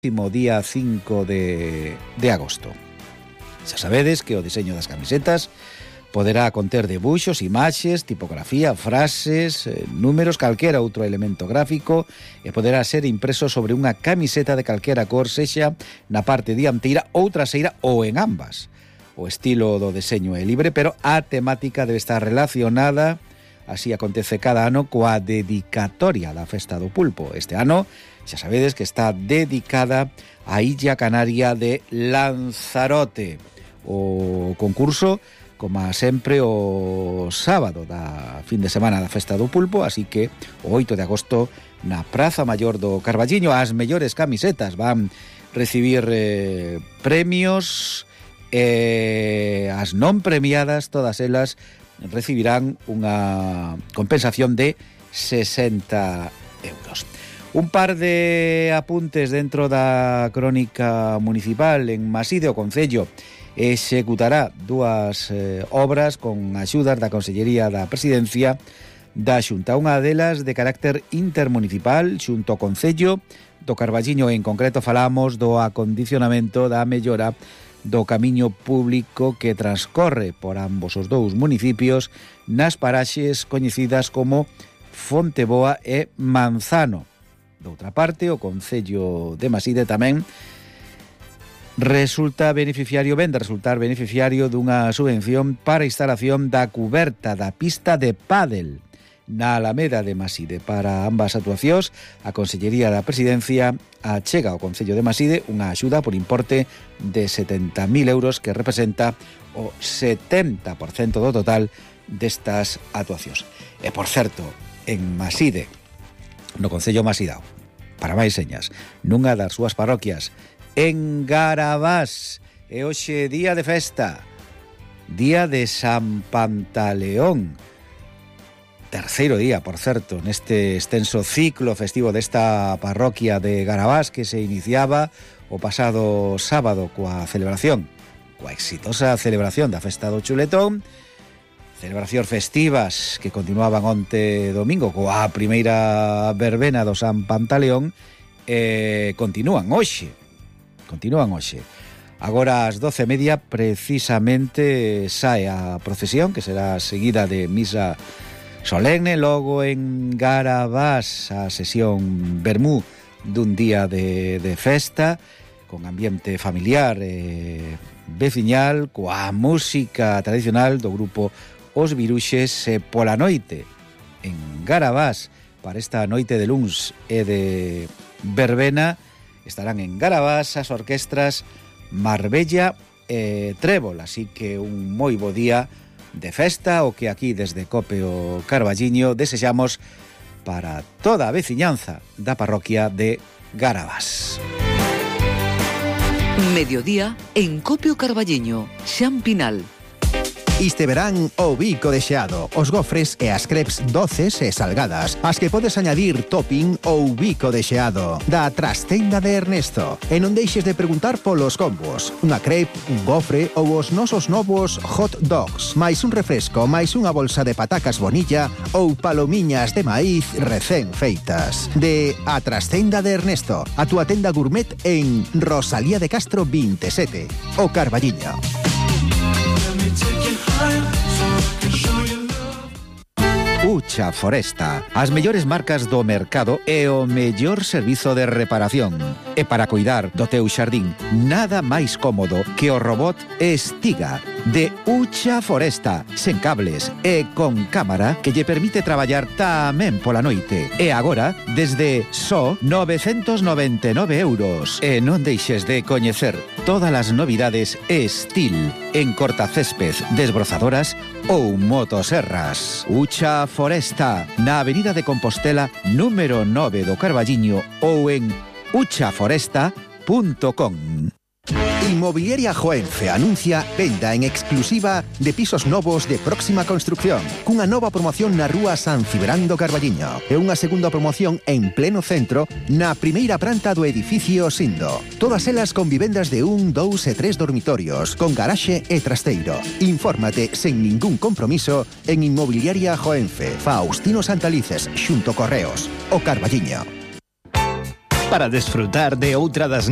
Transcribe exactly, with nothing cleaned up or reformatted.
día cinco de, de agosto. Xa sabedes que o diseño das camisetas poderá conter debuxos, imaxes, tipografía, frases, eh, números, calquera outro elemento gráfico e poderá ser impreso sobre unha camiseta de calquera cor, sexa na parte dianteira ou traseira ou en ambas. O estilo do deseño é libre, pero a temática debe estar relacionada, así acontece cada ano, coa dedicatoria da Festa do Pulpo. Este ano, xa sabedes que está dedicada á Illa Canaria de Lanzarote. O concurso, como sempre, o sábado da fin de semana da Festa do Pulpo, así que o oito de agosto na Praza Maior do Carballiño as mellores camisetas van recibir eh, premios e as non premiadas, todas elas recibirán unha compensación de sesenta euros. Un par de apuntes dentro da crónica municipal. En Maside, o Concello executará dúas eh, obras con axudas da Consellería da Presidencia da Xunta. Unha delas de carácter intermunicipal xunto ao Concello do Carballiño. En concreto falamos do acondicionamento da mellora do camiño público que transcorre por ambos os dous municipios nas paraxes coñecidas como Fonteboa e Manzano. Doutra parte, o Concello de Maside tamén resulta beneficiario, vende resultar beneficiario dunha subvención para a instalación da cuberta da pista de pádel na Alameda de Maside. Para ambas actuacións, a Consellería da Presidencia achega ao Concello de Maside unha axuda por importe de setenta mil euros que representa o setenta por cento do total destas actuacións. E, por certo, en Maside, no Concello Masidao, para máis señas, nunha das súas parroquias, en Garabás, e hoxe día de festa, día de San Pantaleón, terceiro día, por certo, neste extenso ciclo festivo desta parroquia de Garabás que se iniciaba o pasado sábado coa celebración, coa exitosa celebración da Festa do Chuletón, celebracións festivas que continuaban onte domingo coa primeira verbena do San Pantaleón e continúan hoxe, continúan hoxe. Agora ás doce e media precisamente sae a procesión que será seguida de misa solemne, logo en Garabás a sesión vermú dun día de, de festa con ambiente familiar e veciñal, coa música tradicional do grupo Os Viruxes, e pola noite en Garabás para esta noite de luns e de verbena estarán en Garabás as orquestras Marbella e Trébol, así que un moi bo día de festa o que aquí desde Cope o Carballiño desexamos para toda a veciñanza da parroquia de Garabás. Mediodía en Cope o Carballiño, Xan Pinal. Este verán o bico de xeado, os gofres e as crepes doces e salgadas, as que podes añadir topping ou bico de xeado, da Trastenda de Ernesto. E non deixes de preguntar polos combos, unha crepe, un gofre ou os nosos novos hot dogs, máis un refresco, máis unha bolsa de patacas bonilla ou palomiñas de maíz recén feitas. De A Trastenda de Ernesto, a túa tenda gourmet en Rosalía de Castro veintisiete, o Carballiño. Ucha Foresta, as mellores marcas do mercado e o mellor servizo de reparación. E para cuidar do teu xardín, nada máis cómodo que o robot Estiga de Ucha Foresta, sen cables e con cámara que lle permite traballar tamén pola noite. E agora, desde só novecentos noventa e nove euros. E non deixes de coñecer todas as novidades Estil en cortacésped, desbrozadoras ou motoserras. Ucha Foresta, na Avenida de Compostela, número nove do Carballiño, ou en ucha foresta punto com. Inmobiliaria Joenfe anuncia venda en exclusiva de pisos novos de próxima construcción, cunha nova promoción na rúa San Cibrán do Carballiño e unha segunda promoción en pleno centro na primeira planta do edificio Sindo. Todas elas con vivendas de un, dous e tres dormitorios, con garaxe e trasteiro. Infórmate sen ningún compromiso en Inmobiliaria Joenfe, Faustino Santalices, xunto Correos, o Carballiño. Para desfrutar de outra das